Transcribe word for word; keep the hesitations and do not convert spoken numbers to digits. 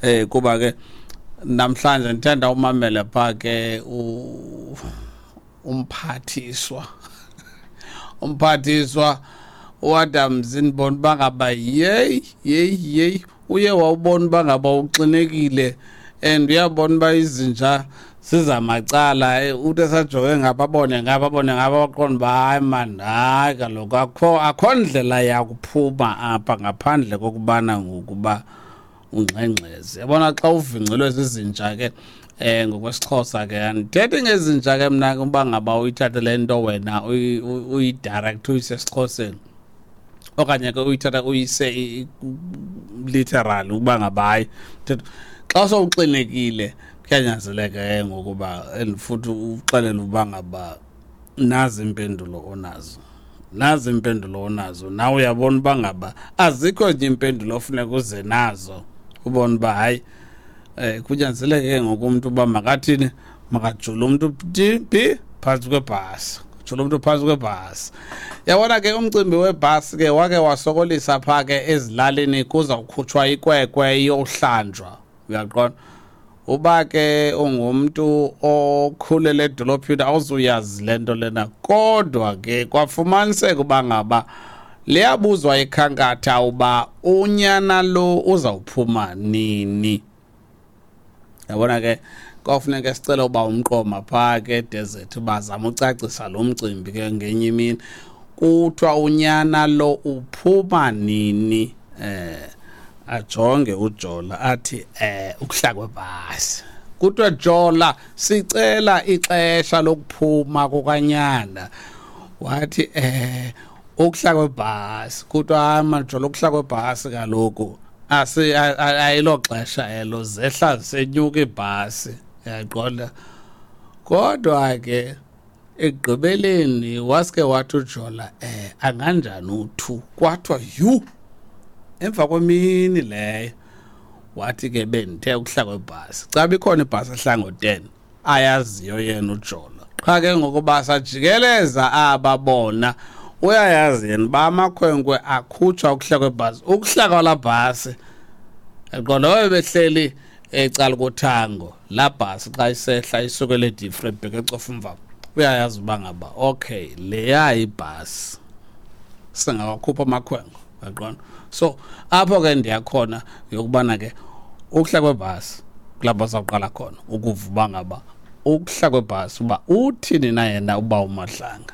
Eh kuba ke namhlanje ndithanda umamele pha ke umphathiswa umphathiswa uAdams, ndibona uba ngaba yeyi yeyi yeyi uye wawubona uba ngaba uxinekile and uyabona uba izinja zizamacala. Uthi esajonge ngapha abone ngapha abone ngapha, waqonda uba hayi mani, hayi kaloku akho akho ndlela yakuphuma apha ngaphandle kokubana ngokuba ungxengxeze. Yabona xa uvingcelwe zizinja ke, eh ngokwesiXhosa ke andithethi ngezinja ke mna ke, uba ngaba uyithathe le nto wena uyi-direct uyise esiXhoseni okanye ke uyithatha uyise literal, ukuba ngaba hayi, xa sowuxinekile kuyanyanzeleka ke ngokuba and futhi uxelele uba ngaba nazi iimpendulo onazo, nazi iimpendulo onazo nawe uyabona uba ngaba azikho nje iimpendulo ofuneka uze nazo, ubone uba hayi um kunyanzeleke ke ngoku umntu uba makathini, makajule umntu phi phantsi kwebhasi, jula umntu phantsi kwebhasi. Yabona ke umcimbi webhasi ke wake wasokolisa phaa ke ezilalini, kuzawukhutshwa ikwekwe iyohlanjwa, uyaqonda. Uba ke ungumntu okhulele edolophini awuzuyazi le nto lena, kodwa ke kwafumaniseka uba ngaba liyabuzwa ikhankatha uba unyana lo uzawuphuma nini. Yabona ke kwafuneka sicele uba umqoma phaa ke edesert bazama ucacisa lo mcimbi ke ngenye imini. Kuthiwa unyana lo uphuma nini, eh ajonge uJola athi eh ukuhla kwebhasi. Kuthiwa Jola sicela ixesha lokuphuma kukanyana, wathi eh ukuhla kwebhasi. Kuthiwa maJola ukuhla kwebhasi kaloku asi ayilo xesha elo, zehla zisenyuka ibhasi, uyaqonda. Kodwa ke ekugqibeleni waske wathi uJola eh anganjani u-two, kwathiwa yhu emva kwemini leyo. Wathi ke bendithe ukuhla kwebhasi, caba ikhona ibhasi ehla ngo-ten ayaziyo yena uJola, qha ke ngokuba sajikeleza aba bona uyayazi yena uba amakhwenkwe akhutshwa ukuhla kwebhasi, ukuhla kwalaa bhasi yaqonda babe behleli ecala kothango laa bhasi xa isehla isukele eDifre ibheke eCofimvaba, uyayazi uba ngaba okay leya ibhasi singawakhupha amakhwenkwe, uyaqonda. So apho ke ndiyakhona yokubana ke ukuhla kwebhasi kulapho sawuqala khona ukuva uba ngaba ukuhla kwebhasi uba uthini na yena uba uMadlanga.